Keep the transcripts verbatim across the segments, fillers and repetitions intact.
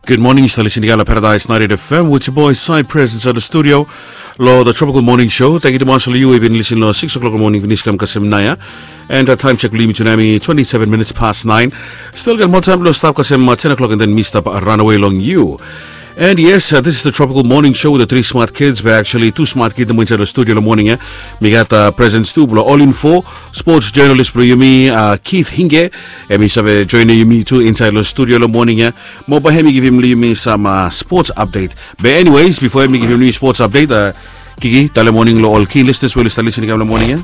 Good morning, yu stap lisin i gat long Paradise ninety-eight F M with your boy Cy Prince inside the studio. Long the Tropical Morning Show, tangkiu tumas long yu we yu bin lisin long six o'clock long morning finis kam kasem naoia. And uh, time check bilong yumi tu nau hemi twenty-seven minutes past nine. Still gat moa taim bilong stap kasem uh, ten o'clock and then mi stap uh, run away long yu. And yes, uh, this is the Tropical Morning Show with the three smart kids, but actually two smart kids nomo inside the studio long morning, eh? Mi gat uh, presence tu bilong All Info, sports journalist bilong yumi, uh, Keith Hinge, em i save joining yumi tu inside the studio long morning, eh? Mo bai em i givim long yumi some uh, sports update. But anyways, before em i givim long yumi sports update, uh, Kiki, tale morning long ol keen listeners we oli stap listening kam long morning, eh?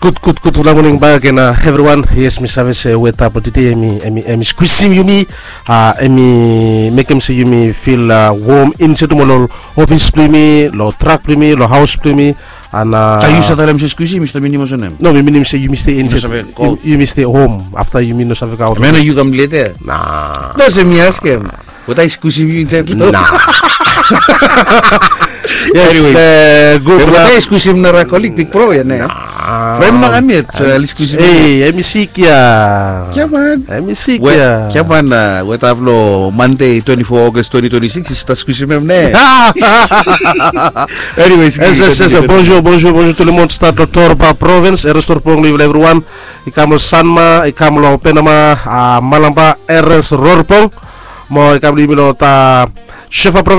Good, good, good. Good morning back and uh, everyone. Yes, mi save se weta po today emi emi emi squeezing yumi. Uh, emi mekem se yumi feel uh, warm inside mo lo office blimi, lo truck blimi, lo house blimi. And uh, Are you sat alem se squeezing, Mister Mini Mosonem? No, mi minim se yumi stay inside. Yumi stay home after yumi no save ka out. Mena you come later. Nah. No, se mi ask him. Weta i skusim yu insait lo? Na. Yes. Anyways, eh, good luck. Weta i skusim nara kolik, big bro ya ne? From na kami et, eh, ali skusim. Hey, em i sik ya. Kia man? Em i sik ya. Kia man, eh, weta blo Monday, twenty-four August twenty twenty-six, i stap skusim em ne? Anyways, yes, yes, yes, bonjour, bonjour, bonjour tout le monde, start lo Torba province, Eres Torpong, live everyone. I kam lo Sanma, i kam lo Penama, ah, Malamba, Eres Rorpong. Mo i kam lo yumi lo ta Shefa province.